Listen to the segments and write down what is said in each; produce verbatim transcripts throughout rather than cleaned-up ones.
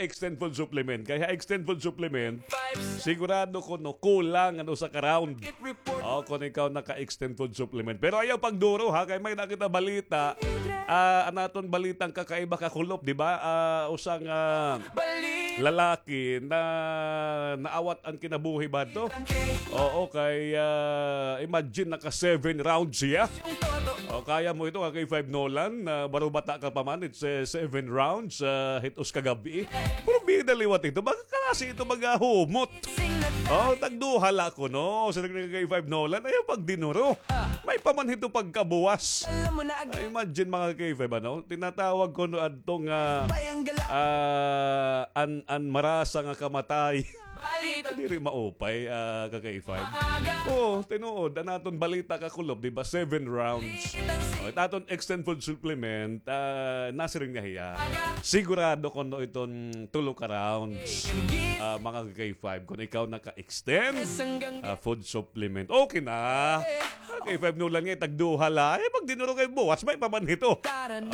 extend food supplement. Kay ha extend food supplement, sigurado kuno kulang an usa ka round. O, kon ikaw naka-extend food supplement. Pero ayaw pagduro, ha, kay may nakita balita. Ah, an aton balitang kakaiba, kakulop, di ba? Ah, usa nga lalaki na naawat an kinabuhi ba to? Oo, kay, ah, imagine, naka seven rounds siya. O, kaya mo ito, ka K five Nolan, na baro bata ka pa man, it's, eh, seven rounds, ah, hit-os ka gab-i. Pero bida liwat ito, baga klase ito, baga humot. O, tagduha la kuno, sa nag-, K five Nolan, ayaw pagdinuro. May pa man hito pagkabuwas. Ay, imagine, mga K five, ano? Tinatawag kuno adto nga, ah, an, an marasa nga kamatay. Diri maupay, ah, ka K five. Oo, tinuod. An aton balita, kakulop, di ba? Seven rounds. O, it aton extend food supplement, ah, nasiring nga hiya. Sigurado kuno iton tulo ka rounds, ah, mga ka K five, kon ikaw naka-extend, ah, food supplement. Okay na. Ka K five Nolan nga, tagduha la. Eh, pag dinuro kay buwas, may pa man hito.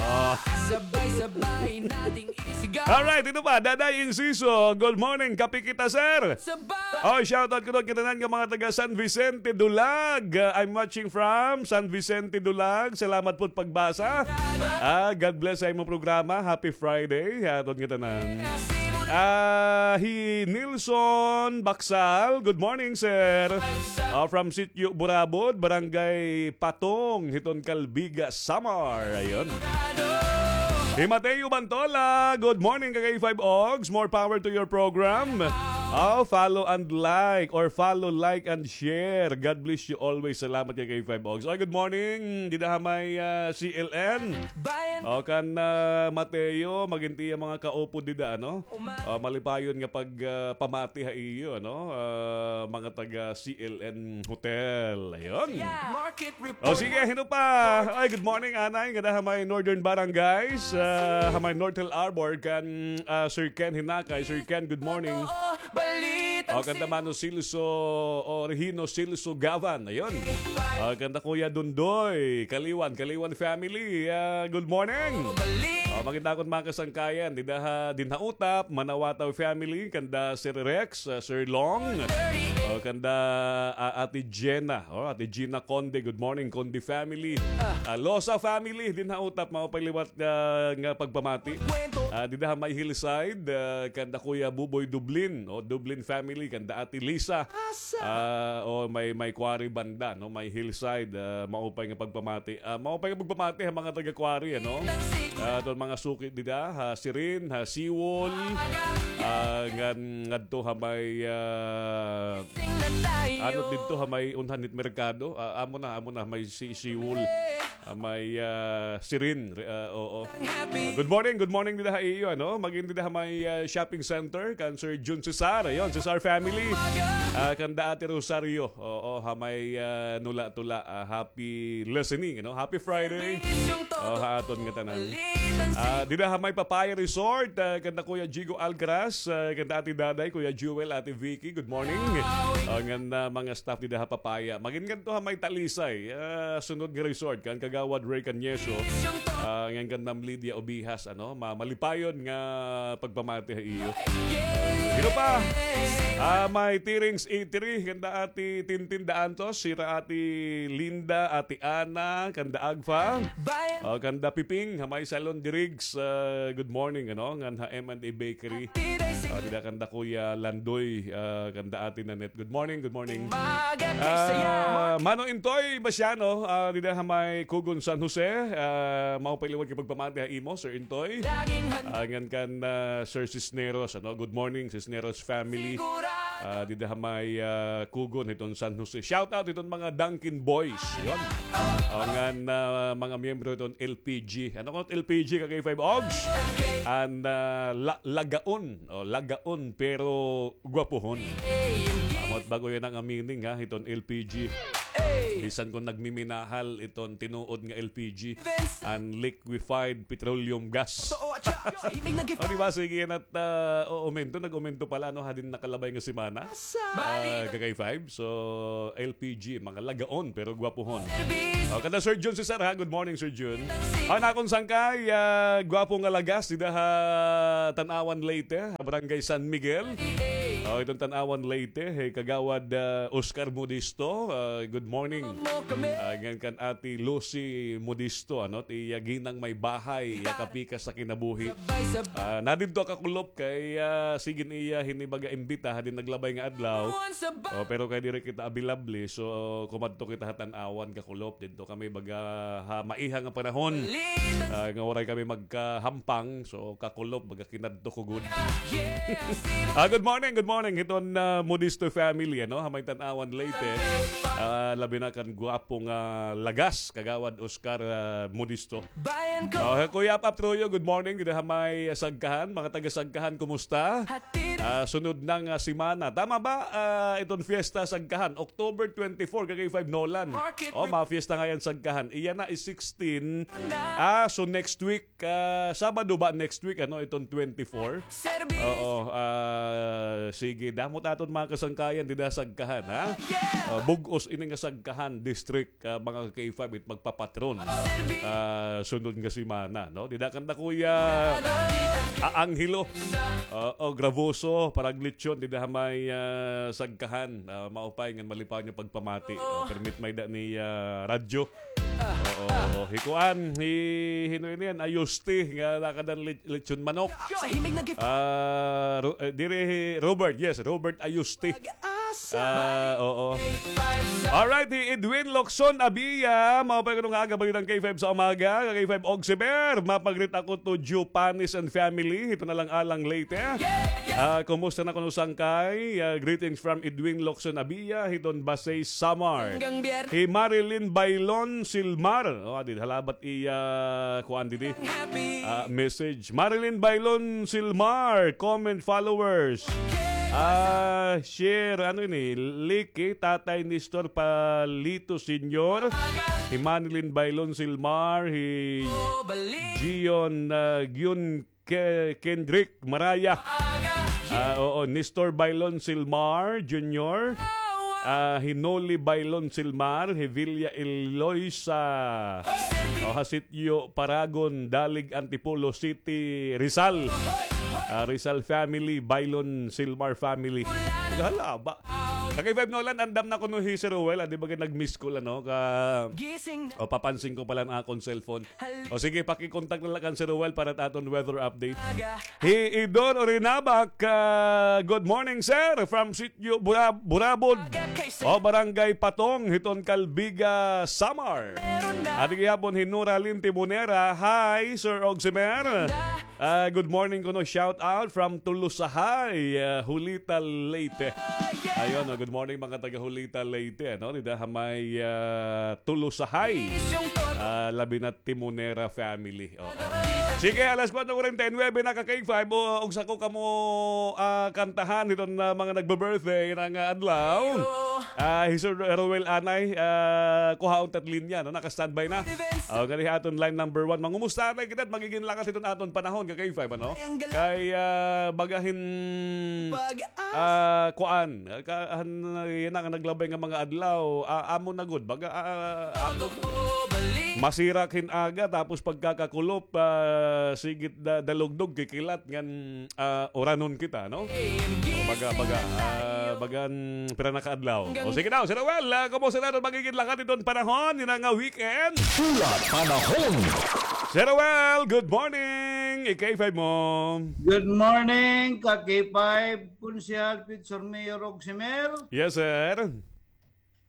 Ah. Alright, ito pa, Daday Inciso. Good morning, kape kita, sir. O, shoutout ko doon kita nan nga mga taga San Vicente, Dulag. Uh, I'm watching from San Vicente, Dulag. Salamat po pagbasa. Ah, God bless sa imo programa. Happy Friday. Hatod kita nan. Ah, hi Nilson Baksal. Good morning, sir. Ah, from Sitio Burabod, Barangay Patong, hiton Calbiga, Samar. Ayun. Hi Mateo Bantola, good morning, ka K five Ogs. More power to your program. Oh, follow and like, or follow, like, and share. God bless you always. Salamat, ka K five Ogs. Oy, good morning. Dida ha may, ah, C L N. O, kan, ah, Mateo, magintiya mga kaupod dida, ano? Ah, malipayon nga pag, ah, pamati ha iyo, ano? Ah, mga taga C L N Hotel. Ayun. O, sige, hino pa? Ay, good morning, anay. Ngada ha may Northern Barangays, ah, ha may North Hill Arbor, kan, ah, Sir Ken Hinakay. Sir Ken, good morning. O, kanta Mano Silso, o, Regino Silso Gavan. Ayun. O, kanta Kuya Dundoy, Kaliwan, Kaliwan family. Ah, good morning. O, maganda akong mga kasangkayan. Dida ha, dinha Utap, Manawataw family, kanda Sir Rex, ah, Sir Long. O, kanda, ah, Ate Jenna. O, Ate Gina Conde, good morning, Conde family. Ah, Losa family, dinha Utap, maupay liwat, ah, nga pagpamati. Ah, dida ha may Hillside, ah, kanda Kuya Buboy Dublin, o, Dublin family, kanda Ate Lisa. Ah, o, may, may Quarry banda, no? May Hillside, ah, maupay nga pagpamati. Ah, maupay nga pagpamati ha mga taga Quarry, ano? Ah, aton mga suki dida, ha Sirin, ha Siwol, ah, ngan, ngadto ha may, ah, ano didto ha may unhan hit merkado? Ah, amo na, amo na, may si-, Siwol. Ah, may, ah, Sirin, re-, ah, oo. Good morning, good morning dida ha iyo, ano? Magin dida ha may, ah, shopping center, kan Sir Jun Cesar, ayun, Cesar family. Ah, kanda Ate Rosario, oo, ha may, ah, Nula-Tula, ah, happy listening, ano? Happy Friday. O, ha aton nga tanan. Ah, dida ha may Papaya Resort, ah, kanda Kuya Jigo Alcaraz, ah, kanda Ate Daday, Kuya Jewel, Ate Vicky, good morning. Ah, ngan, ah, mga staff dida ha Papaya. Magin ngadto ha may Talisay, ah, sunod nga resort, kan Kagawad Ray Cañeso. Ah, ngan kan Ma'am Lydia Obihas, ano, ma-, malipayon nga pagpamati ha iyo. Hino pa? Ah, may Tirings Eatery, kanda Ate Tintin Daantos, sira Ate Linda, Ate Ana, kanda Agfa. O, kanda Piping, ha may Salon de Riggs, ah, good morning, ano, ngan ha M and A Bakery. Ah, dida kanda Kuya Landoy, ah, kanda Ate Nanette. Good morning, good morning. Ah, Mano Intoy Basiano, ah, dida ha may Kugon, San Jose. Ah, maupay liwat nga pagpamati ha imo, Sir Intoy. Ah, ngan kan, ah, Sir Cisneros, ano, good morning, Cisneros family. Ah, dida ha may, ah, Kugon, hiton San Jose. Shout out hiton mga Dunkin Boys. Yun. O, ngan, ah, mga miyembro hiton L P G. Ano ko L P G, ka K five Ogs? An, ah, la-, lagaon. O, lagaon, pero gwapuhon. Amot bago yan ang meaning, ha, hiton L P G. Bisan kon nagmiminahal iton tinuod nga L P G and liquefied petroleum gas. O, di ba? Sige, yan at, ah, o-, umento, nag-umento pala, no, hadin nakalabay nga semana. Ah, ka K five. So, L P G, mga lagaon, pero gwapuhon. O, kada Sir Jun Cesar, ha? Good morning, Sir Jun. An akon sangkay, ah, gwapo nga lagas, dida ha Tanauan, Leyte, ha Barangay San Miguel. O, iton Tanauan, Leyte, hey, Kagawad, ah, Oscar Modisto, ah, good morning. Ah, ngan kan Ate Lucy Modisto, ano, ti, ah, ginang may bahay, ya kapikas sa kinabuhi. Ah, nadidto kakulop kay, ah, sige niya hini baga imbita hadin naglabay nga adlaw. O, pero kay diri kita available, so kumadto kita ha Tanauan kakulop. Didto kami baga ha maiha nga panahon. Ah, nga waray kami magkahampang, so kakulop baga kinadto ko gud. Ah, good morning, good morning hiton, ah, Modisto family, ano, ha may Tanauan, Leyte. Ah, labi na kan gwapo nga lagas, Kagawad Oscar, ah, Modisto. Oh, Kuya Pap Troyo, good morning. Dida ha may Sagkahan, mga taga Sagkahan, kumusta? Ah, sunod na nga semana. Tama ba, ah, iton fiesta Sagkahan? October twenty-four, ka K five Nolan. Oh, mga fiesta ngayon Sagkahan. Iya na is sixteen. Ah, so next week, ah, Sabado ba next week, ano, iton twenty-four? Oo, ah, sige. Damo it aton mga kasangkayan dida Sagkahan, ha? Ah, bug-os ini nga Sagkahan District, ah, mga ka K five, it magpapatron, ah, sunod nga semana, no? Dida kanda Kuya, ah, Angelo, ah, o Gravoso, parang lechon, dida ha may, ah, Sagkahan, ah, maupay ngan malipaw niya pagpamati. Ah, permit may da ni, ah, radyo. Oo, oo. Hi kuan, hi, hino ini yan? Ayusti, nga nakadan lit-, lechon manok. Ah, Ro-, eh, diri hi Robert, yes, Robert Ayusti. Ah, oo. Alright, hi Edwin Locson Abia. Maupay kuno nga aga, balitang K five sa umaga. Ka K five Oximer, mapagrit ako to Joe Panis and family. Ito na lang alang late, eh. Ah, kumusta na kuno sangkay? Ah, greetings from Edwin Locson Abia, hiton Basey, Samar. Hi Marilyn Bailon Silmar. Oh, adi, halabat iya, kuan didi. Ah, message. Marilyn Bailon Silmar, comment, followers. Ah, share, ano ini? Like, eh, Tatay Nestor Palito Senior. Hi Marilyn Bailon Silmar, hi Gion, ah, Gion Ke-, Kendrick Maraya. Ah, oo, Nestor Bailon Silmar Junior. Ah, hi Noli Bailon Silmar, hi Villa Eloisa. Oh, ha sitio Paragon, Dalig, Antipolo City, Rizal. Ah, Rizal family, Bailon Silmar family. Hala ba? Ka K five Nolan, andam na kuno hi Sir Ruel, ah, di ba kay nag-miss call, ano, ka, o, papansin ko pala an akon cellphone. O sige, paki-contact na la kan Sir Ruel para it aton weather update. Hi Idor Orinabak, ah, good morning, sir, from Sitio Bura-, Burabod. O, Barangay Patong, hiton Calbiga, Samar. Adi gihapon hi Nora Lin Timonera. Hi, Sir Oximer. Ah, good morning kuno, shout out from Tulusahay, ah, Julita, Leyte. Ayun, oh, good morning, mga taga Julita, Leyte, no? Dida ha may, ah, Tulusahay. Ah, labi na Timonera family. Oo. Sige, alas kuwatro kuwarenta y nuwebe na, ka K five, o, og sako kamo, ah, kantahan hiton, ah, mga nagbe-birthday nga adlaw. Ah, hi Sir Roel anay, ah, kuhaon ta it linya, no? Naka-standby na. Oh, nganhi aton line number one. Mangumusta na kita, magigin lakat hiton aton panahon, ka K five, ano? Kay, ah, baga hin, ah, kuan, ka, han, yana nga naglabay nga mga adlaw, ah, amo na gud, baga, ah, amo, masirak hin aga, tapos pagkakakulop, ah, sigit da-, dalugdog, kikilat, ngan, ah, uranon kita, no? Baga, baga, ah, bagan, pira na ka adlaw. O, sige daw, Sir Roel, ah, kumusta na iton magigin lakat iton panahon, yana nga weekend? Pula Panahon. Sir Roel, good morning. I K five mo. Good morning, ka K five, Konsehal Pitsor, Mayor Oximer. Yes, sir.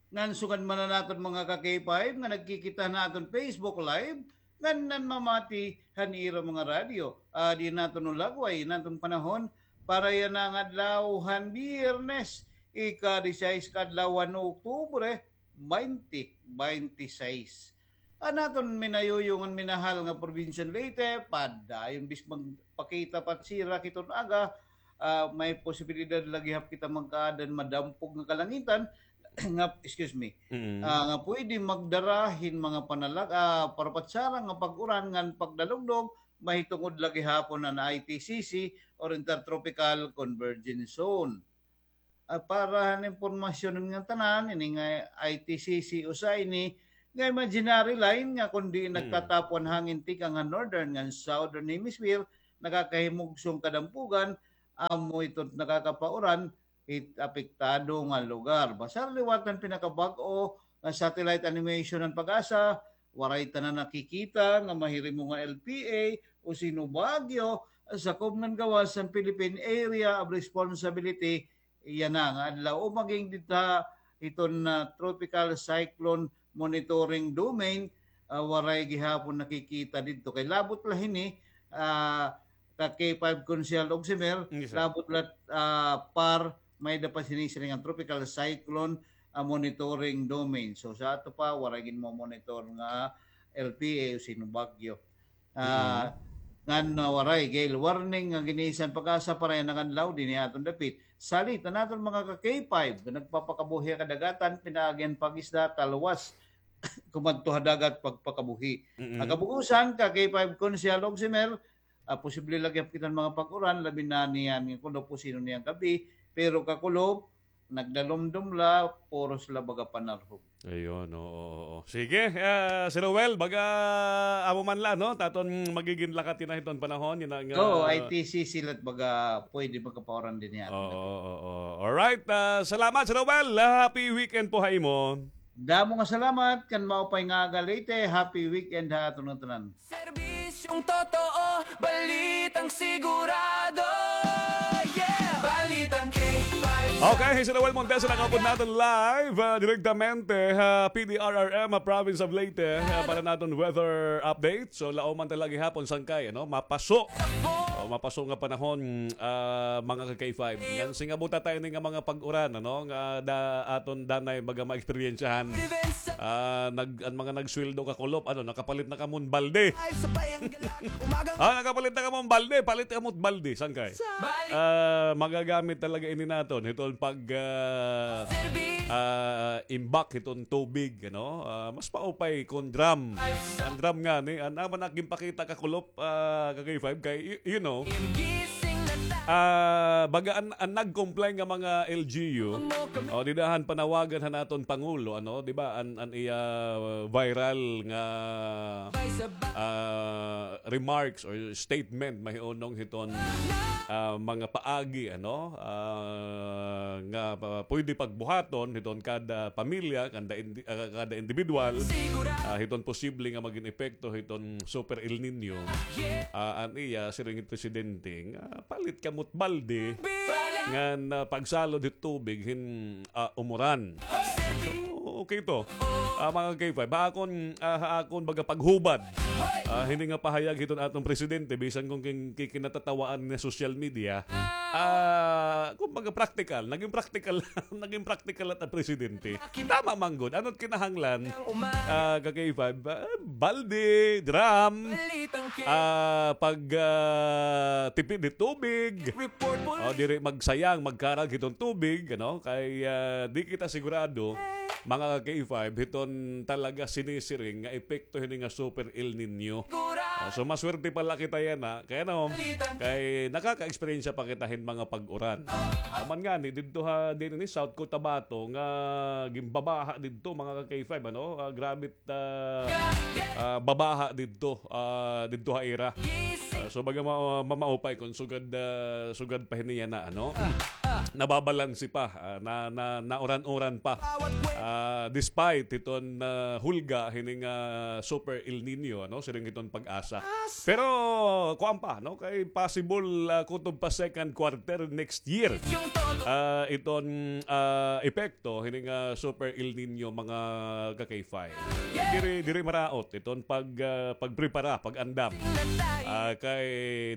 Ngan sugad man an aton mga ka K five nga nagkikita han aton Facebook Live, ngan nanmamati han ira mga radyo. Adi an aton ulagway, an aton panahon, para yana nga adlaw han Biyernes, ika-disisais ka adlaw han Oktubre, baynte baynte sais. An aton minayuyo ngan minahal nga probinsiya han Leyte, padayon bis magpakita pa it sirak hiton aga, ah, may posibilidad la gihap kita magkaada han madampog nga kalangitan, nga, excuse me, Mm. ah, nga pwede magdara hin mga panalag-, ah, parapatsara nga pag-uran ngan pagdalugdog, mahitungod la gihapon an I T C C or Intertropical Convergence Zone. Ah, para han impormasyon nga tanan, ini nga I T C C usa ini nga imaginary line nga kundi Mm. nagtatapon hangin tikang han northern ngan southern hemisphere, nakakahimugsong kadampugan, amo ito nakakapauran hit apektado nga lugar. Basta liwat han pinakabag-o nga satellite animation han PAGASA, waray tanan nakikita nga mahirimo nga L P A o Sino Baguio, sakob ngan gawas han Philippine Area of Responsibility yana nga adlaw o maging dida hiton, ah, Tropical Cyclone Monitoring Domain, ah, waray gihapon nakikita didto. Kay labot la hini, ah, ka K five Konsehal Ogsimer, Yes, sir. labot la, ah, PAR, may-ada pa sinisiring nga Tropical Cyclone, ah, Monitoring Domain. So, sa ato pa, waray ginmo-monitor nga L P A o Sino Baguio. Ah, Mm. ngan, ah, waray gale warning nga gin-issue han PAGASA para yana nga adlaw dinhi ha aton dapit. Salit an aton mga ka K five nga nagpapakabuhi ha kadagatan, pinaagi han pag-isda, talwas, kumadto ha dagat, pagpakabuhi. Mm. An kabug-osan, ka K five Konsehal Ogsimer, ah, posible la gihap kita hin mga pag-uran, labi na niyan nga kulop o sino niyan gab-i, pero kakulop, nagdalumdom la, puros la baga panarhog. Ayun, oo, oo. Sige, ah, Sir Roel, baga amo man la, no? Aton magigin lakat yana hiton panahon, yana nga Oo, I T C C la it baga pwede magkapauran dinhi ha aton Oo, dapit. oo, oo. Alright, ah, salamat, Sir Roel. Ah, happy weekend po ha imo. Damo nga salamat, kan maupay nga aga Leyte, happy weekend ha aton nga tanan. Serbisyong totoo, balitang sigurado. Yeah! Balitang K five. Okay, hi Sir Roel Montesa, nakaupod naton live, ah, direktamente ha P D R R M, ah, Province of Leyte, ah, para naton weather update. So, lauman talaga gihapon, sangkay, ano, mapaso. O, mapaso nga panahon, ah, mga ka K five. Ngan singabuta ta ini nga mga pag-uran, ano, nga da-, aton danay baga maeksperiensyahan. Ah, nag-, an mga nagsweldo kakulop, ano, nakapalit na kamo hin balde. Ah, nakapalit na kamo hin balde, palit kamo hin balde, sangkay. Ah, magagamit talaga ini naton hiton pag, ah, ah, imbak hiton tubig, ano? Ah, mas maupay kon drum. An drum ngani, an amo na ginpakita kakulop, ah, ka K five kay, y-, you know, ah, baga an, an nag-comply nga mga L G U, o, dida han panawagan han aton Pangulo, ano, di ba, an, an iya, uh, viral nga, ah, remarks or statement mahiunong hiton, ah, mga paagi, ano, ah, nga, ah, pwede pagbuhaton hiton kada pamilya, kada indi-, ah, kada individual, ah, hiton posible nga magin epekto hiton Super El Niño. Ah, an iya, siring hit presidente nga, palit kamo hit balde, ngan, ah, pagsalod hit tubig hin, ah, umuran. So, okay to. Ah, mga K five, ha akon, ah, ha akon baga paghubad, ah, hini nga pahayag hiton aton presidente, bisan kon kin-, ki-, kinatatawaan nga social media, ah, kumbaga practical, naging practical, naging practical la it presidente. Tama man gud. Ano it kinahanglan, ah, ka K five? Ah, balde, drum, ah, pag, ah, tipid hit tubig. O, diri magsayang, magkarag hiton tubig, ano? Kay, ah, di kita sigurado, mga ka K five, hiton talaga sinisiring nga epekto hini nga Super El Niño. O, so, maswerte pa la kita yana, kay ano, kay nakaka-eksperyensya pa kita hin mga pag-uran. Aman ngani, didto ha, dinhi South Cotabato, nga ginbabaha didto, mga ka K five, ano? Ah, grabe it, ah, ah, babaha didto, ah, didto ha ira. Ah, so, baga ma-, mamaupay kon sugad, ah, sugad pa hini yana, ano? Nababalanse pa, ah, na, na, nauran-uran pa. Ah, despite hiton, ah, hulga hini nga Super El Niño, ano? Siring hiton PAGASA. Pero, kuan pa, no? Kay possible, ah, kutob pa second quarter next year. Ah, iton, ah, epekto hini nga Super El Niño, mga ka K five. Diri, diri maraot iton pag, ah, pagprepara, pag-andam. Ah, kay,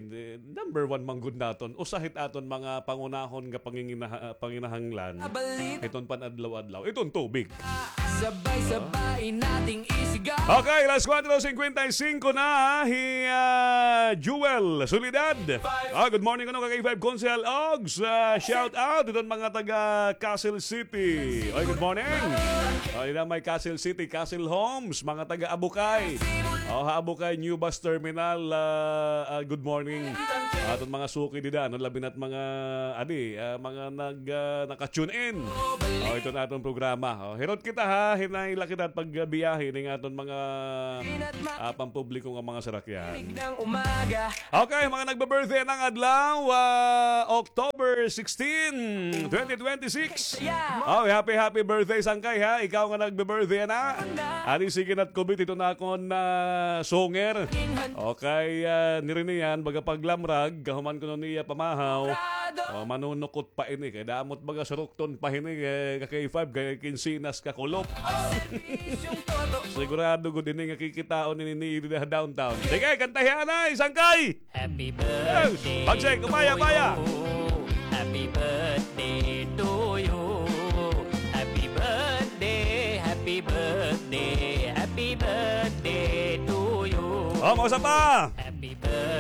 eh, number one man gud naton, usa hit aton mga pangunahon nga panginginaha-, panginahanglan. Iton pan-adlaw-adlaw. Iton tubig. Sabay-sabay nating isigaw. Okay, alas kwatro singkwenta y singko na, hi, ah, Jewel Soledad. Ah, good morning, ano, ka K five Konsehal Ogs. Ah, shout out iton mga taga Castle City. Oy, good morning. Oh, ina may Castle City, Castle Homes, mga taga Abukay. Oh, ha Abukay, New Bus Terminal, ah, ah, good morning. Aton mga suki dida, ano, labi na't mga, adi, ah, mga nag, ah, naka-tune in. Oh, ito na aton programa. Oh, hirot kita ha, hinay la kita pagbiyahe ning aton mga, ah, pampubliko nga mga sarakyan. Okay, mga nagbe-birthday nang adlaw, ah, October sixteen, twenty twenty-six. Oh, happy, happy birthday, Sangkay, ha? Ikaw nga nagbe-birthday na. Ani, sige na't kubit ito na akon na sunger. Okay, ah, niriniyan, baga paglamrag, kahuman kuno niya pamahaw. Oh, manunukot pa ini, kay damot baga surukton pa hini, eh, ka K five, kay kinsinas ka kulop. Sigurado gud ini nga kikitaon ini ni dida ha downtown. Sige, kantahi anay, Sangkay! Happy birthday Bagsik, upaya, to upaya. You. Happy birthday to you. Happy birthday, happy birthday, happy birthday to you. Oh, mausa pa.